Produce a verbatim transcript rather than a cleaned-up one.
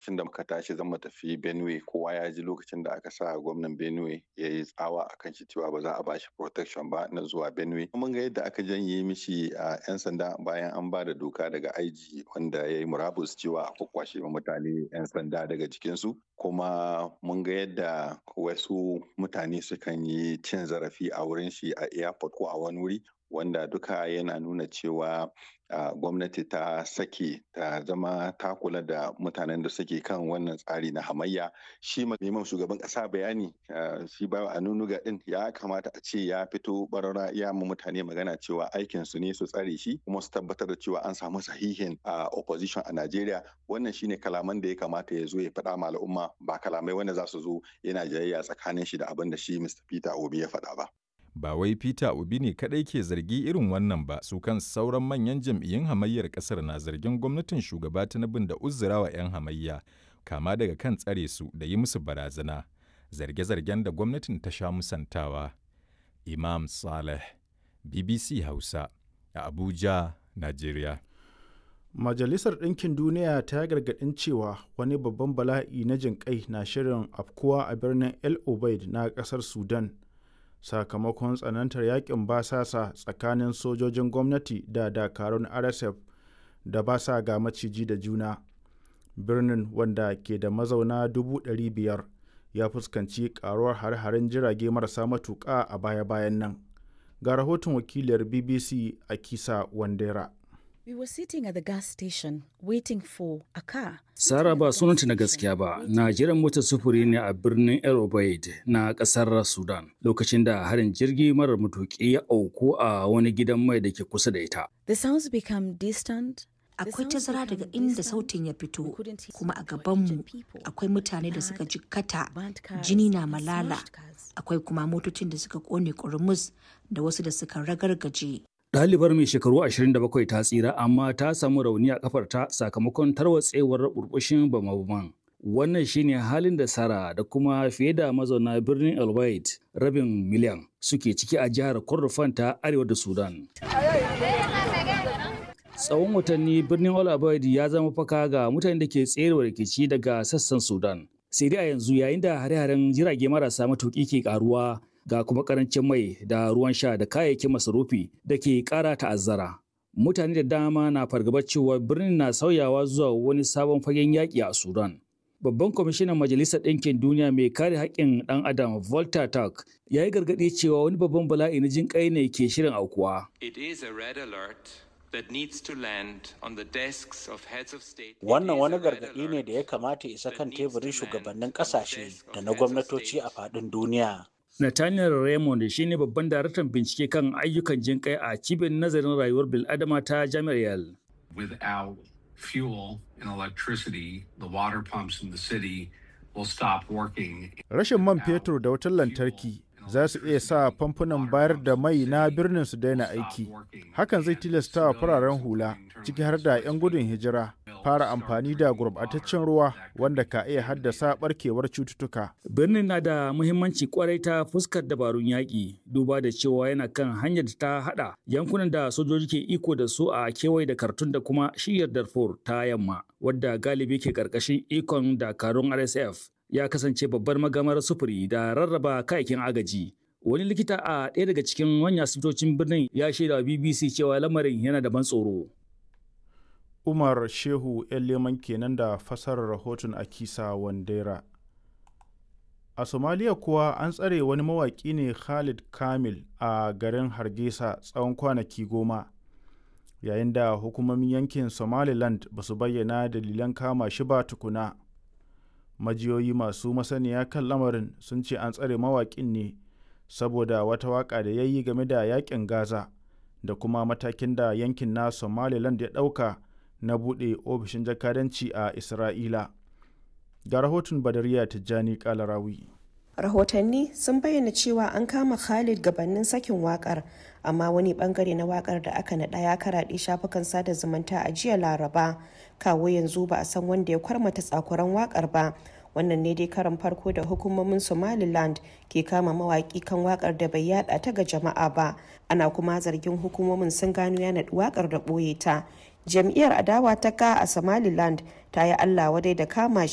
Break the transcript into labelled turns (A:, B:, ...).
A: Lokacin da muka tashi zan mu tafi Benue, kowa ya ji lokacin da aka sa gwamnan Benue ya yi tsawa a kan shi cewa ba za a bashi protection ba na zuwa Benue. Mun ga yadda aka janye mishi a 'yan sanda bayan an ba da doka daga I G wanda ya yi murabus cewa a kwakwashe mutane 'yan sanda daga jikinsu. Kuma mun ga yadda wasu mutane sukan yi cin zarafi a wurin shi a airport ko a wani wuri, wanda duka yana nuna cewa uh, gwamnati ta sake ta zama ta kula da mutanen da suke kan wannan tsari na hamayya. Shi neman shugaban kasa bayani, uh, shi ba a nunuga din ya kamata a ce ya fito barara ya mu mutane magana cewa aikin su ne su tsare shi kuma su tabbatar da cewa an samu sahihin uh, opposition a Najeriya. Wannan shine kalaman da ya kamata ya zo ya faɗa ma al'umma, ba kalamai wanda za su zo yana jayayya tsakanin shi da abin da shi Mister Peter Obi ya faɗa ba.
B: Ba wai Peter Obi ne kaɗai ke zargi irin wannan ba, su kan sauran manyan jam'iyyun hamayyar ƙasar na zargin gwamnatin shugaba Tinubu da uzurawa 'yan hamayya, kama daga kan tsare su da yi musu barazana, zarge-zargen da gwamnatin ta sha musantawa. Imam Saleh, B B C Hausa, a Abuja, Najeriya.
C: Majalisar Ɗinkin Duniya ta gargaɗin cewa wani babban bala'i na jinƙai na shirin afkuwa a birnin El Obeid na ƙasar Sudan, sakamakon tsanantar yakin basasa tsakanin sojojin gwamnati da dakarun R S F da ba sa ga maciji da juna. Birnin, wanda ke da mazauna dubu ɗari biyar, ya fuskanci karuwar hare-haren jirage marasa matuƙa a baya-bayan nan. Ga rahoton wakiliyar B B C a Kisa Wandera.
D: We were sitting at the gas station waiting for a car.
E: Sara, ba sunanta na gaskiya ba, na jiran motar sufuri ne a birnin El Obeid na kasar Sudan lokacin da harin jirgi marar matuƙi ya auku a wani gidan mai da ke kusa da ita.
D: The sounds become distant.
F: Akwai tazara daga inda sautin ya fito, kuma a gabanmu akwai mutane da suka jikkata, jini na malala, akwai kuma motocin da suka kone kurmus da wasu da suka ragargaje.
E: Ɗalibar mai shekaru ashirin da bakwai ta tsira, amma ta samu rauni a kafarta sakamakon tarwatsewar burbushin bama-baman. Wannan shine halin da Sara da kuma fiye da mazauna birnin El Obeid rabin miliyan suke ciki a jihar Kordofan ta arewa da Sudan. Tsawon watanni birnin El Obeid ya zama faka ga mutanen da ke tserewa rikici daga sassan Sudan. Sai dai a yanzu, yayin da hare-haren jirage marasa matuƙi ke karuwa, ga kuma karancin mai da ruwan sha da kayayyakin masarufi da ke ƙara ta'azzara. Mutane da dama na fargabar cewa birnin na sauyawa zuwa wani sabon fagen yaƙi a Sudan. Babban kwamishinan Majalisar Ɗinkin Duniya mai kare haƙƙin ɗan Adam, Volker Turk, ya yi gargaɗi cewa wani babban bala'i na jin ƙai ne ke shirin aukuwa.
G: It is a red alert that needs to land on the desks of heads of state.
H: Wannan wani gargaɗi ne da ya kamata isa kan teburin shugabannin ƙasashe da na gwamnatoci a faɗin duniya.
E: Nathaniel Raymond shi ne babban daraktan bincike kan ayyukan jinƙai a cibiyar nazarin rayuwar bil'adama ta Jami'ar Yale.
I: Without fuel and electricity, the water pumps in the city will stop working.
C: Rashin man fetur da wutar lantarki za su iya sa famfunan bayar da mai na birnin su daina aiki. Hakan zai tilasta wa fararen hula, ciki har da 'yan gudun hijira, fara amfani da gurbataccen ruwa wanda ka iya haddasa barkewar cututtuka.
E: Birnin na da muhimmanci kwarai ta fuskar dabarun yaƙi, duba da cewa yana kan hanyar da ta haɗa yankunan da sojoji ke iko da su a kewaye da Khartoum da kuma shiyar Darfur ta yamma, wadda galibi ke ƙarƙashin ikon dakarun R S F. Ya kasance babbar magamar sufuri da rarraba kayayyakin agaji. Wani likita a ɗaya daga cikin manyan asibitocin birnin ya shaida wa B B C cewa lamarin yana da ban tsoro.
C: Umar Shehu 'yan Leman kenan da fasarar rahoton Akisa Wandera. A Somaliya kuwa, an tsare wani mawaƙi ne, Khalid Kamil, a garin Hargeisa tsawon kwanaki goma, yayin da hukumomin yankin Somaliland ba su bayyana dalilan kama shi ba tukuna. Majiyoyi masu masaniya kan lamarin sun ce an tsare mawaƙin ne saboda wata waƙa da ya yi game da yaƙin Gaza da kuma matakin da yankin na Somaliland ya ɗauka na buɗe ofishin jakadanci a Isra'ila. Ga rahoton Badariya Tijjani Kalarawi.
J: Rahotanni sun bayyana cewa an kama Khalid gabanin sakin wakar, amma wani bangare na wakar da aka naɗa ya karaɗe shafukan sada zumunta a jiya Laraba. Kawo yanzu ba a san wanda ya kwarmata tsakuran wakar ba. Wannan ne dai karan farko da hukumomin Somaliland ke kama mawaki kan wakar da bai yada ta ga jama'a ba. Ana kuma zargin hukumomin sun gano ya naɗi wakar da ɓoye ta. Jam'iyyar adawa ta ka a Somaliland ta yi Allah wadai da kama shi.